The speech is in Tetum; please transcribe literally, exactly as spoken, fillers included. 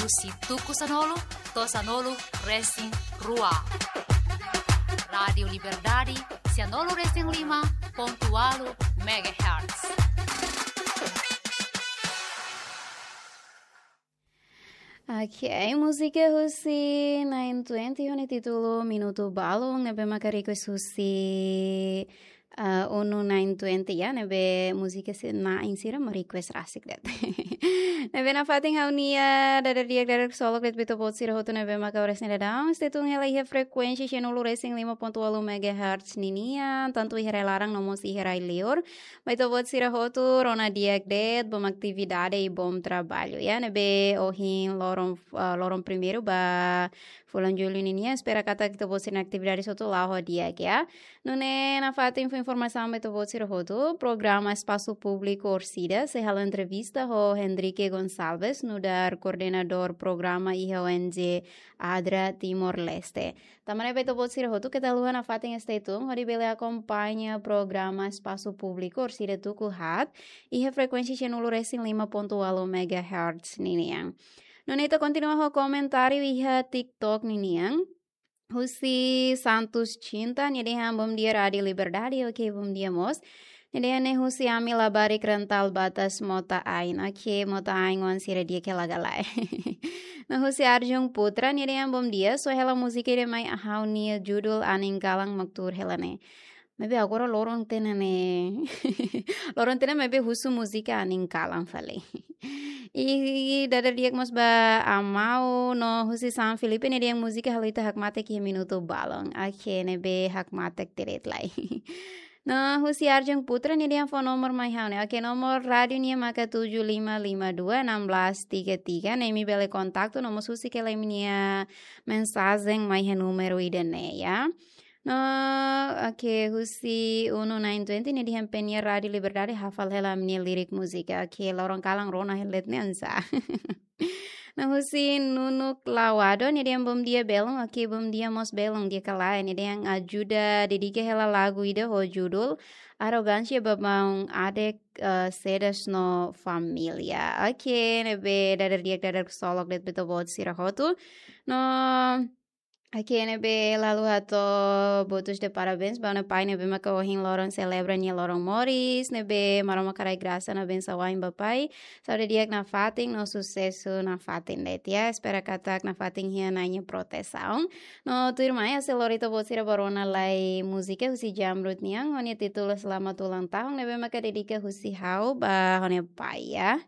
Husi tuku sanulu to'o sanulu resin rua. Rádiu Liberdade, sanulu resin lima pontu ualu megahertz. Ok, múzika husi nine twenty ho nia títulu Minutu Balun, ne'ebé maka request husi, ah, unu nine twenty ya, ne'ebé múzika sira-ne'e sira mak request rasik de'it. Ne'ebé nafatin ha'u-nia dada di'ak, dada ksolok de'it ba ita-boot sira hotu ne'ebé maka oras ne'e daudaun stay tune hela iha frekuénsia sanulu resin lima pontu ualu megahertz ninian, tantu iha rai-laran no mós iha rai-liur. Ba ita-boot sira hotu, rona di'ak de'it, bom atividade i bom trabalho ya. Ne'ebé ohin loron, ah, loron primeiru ba fulan Jullu ninian, espera katak ita-boot sira-nia atividade hotu la'o ho di'ak ya. Nune'e nafatin fó informasaun ba ita-boot sira hotu, programa Espasu Públiku Orsida sei halo entrevista ho Hendrique Gonçalves, nu'udar koordenadór programa iha O N G ADRA Timor-Leste. Tanba ne'e ba ita-boot sira hotu keta haluha nafatin stay tune hodi bele akompaña programa Espasu Públiku Orsida tuku haat iha frekuénsia sanulu resin lima pontu ualu megahertz ninian. Nune'e ita kontinua ho komentáriu iha TikTok ninian. Husi Santos Cinta, nia dehan bom dia Rádiu Liberdade, ok, bom dia mós. Nia dehan ne'e husi ami labarik Rental Batas Mota Ain, ok, Mota Ain oan sira di'ak hela ka lae. No husi Arjun Putra, nia dehan bom dia, só hela múzika ida mai ha'u-nia judul Anin Kalan mak tuur hela ne'e. Maibé agora loron tiha ona ne'e. Loron tiha ona maibé husu múzika Anin Kalan fali. I dada di'ak mós ba Amau no husi San Filipe, nia dehan múzika halo ita hakmatek iha minutu balun. Ok, ne'ebé hakmatek de'it lai. No husi Arjun Putra, nia dehan fó nomor mai ha'u ne'e. Ok, nomor rádiu nian maka tujuh lima lima dua enam belas tiga tiga, ne'e imi bele kontaktu no mós husik hela imi-nia mensajen mai iha númeru ida-ne'e ya. No, ok, husi unu nine twenty nia dehan penyiar Rádiu Liberdade hafal hela ami-nia lirik múzika. Ok, loron kalan rona hela de'it ne'e oinsá. No husi Nunuk Lawado, nia dehan bom dia belun, ok, bom dia mós belun, di'ak ka lae, nia dehan ajuda dedika hela lagu ida ho judul Arrogância ba maun Adek, eh, Sedas no Família. Ok, ne'ebé dada di'ak, dada ksolok de'it ba ita-boot sira hotu. No, ok, ne'ebé la haluha hato'o votos de parabéns ba ó-nia pai ne'ebé maka ohin loron selebra nia loron moris, ne'ebé Maromak haraik grasa no bensaun wa'in ba pai. Saúde di'ak nafatin no susesu nafatin de'it ya. Espera katak nafatin iha Na'i nia protesaun. No tuirmai, ha'u sei lori ita-boot sira ba rona lai múzika husi Jamrud nian, ho nia títulu Selamat Ulang Tahun, ne'ebé maka dedika husi ha'u ba ó-nia pai ya.